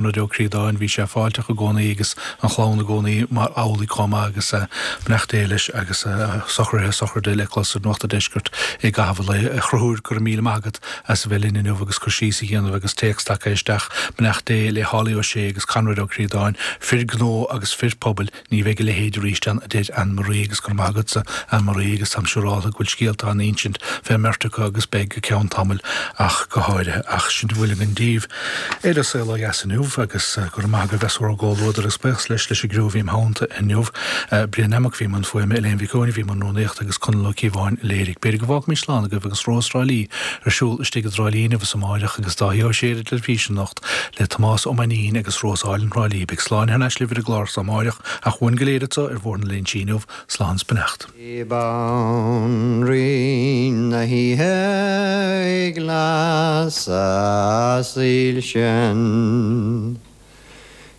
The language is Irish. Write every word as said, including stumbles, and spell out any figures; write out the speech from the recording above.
Ó Críodáin, bhí sé fáilteach i gcónaí agus an chlann i gcónaí mar amhlaidh chomh maith agus beannacht Dé leis agus socruithe sochraide le clos ar Nuacht an Deiscirt i gcaitheamh an lae. A Chonchúir, go raibh míle maith agat as a bheith linn inniu agus cur síos a dhéanamh agus téacs tagtha isteach beannacht Dé le Holly Ó Sé agus Conrad Ó Críodáin, fir gnó agus fir pobail, ní bheidh a leithéid arís ann a deir Anne Marie agus go raibh maith agatsa Anne Marie agus táim siúrálta go bhfuil scéalta á n-insint fén mbeirt acu agus beidh go ceann tamaill ach go háirithe ach sin a bhfuil againn daoibh ar An Saol Ó Dheas inniu agus go raibh maith agaibh as bhur gcomhluadar agus buíochas leis leis an gcriú a bhí im theannta inniu. Brian Nammock a bhí i mbun fuaime, Elaine Mhic Eoin a bhí i mbun rúnaíochta agus Conall Ó Cíobháin a léirigh. B'fhéidir go bhfágfaimid slán agaibh agus Rós Thrá Lí ar siúl istigh i dTrá Lí inniu is amáireach agus Dáithí Ó Sé ar an teilifís anocht le Tomás Ó Mainnín agus Rós Álainn Thrá Lí. Beidh slán thar n-ais libh ar an gclár so amáireach ach uainn go léir anseo ar Bhóthar na Léinsí inniu, slán 's beannacht. Banríon na hoíche ag lasadh soilse.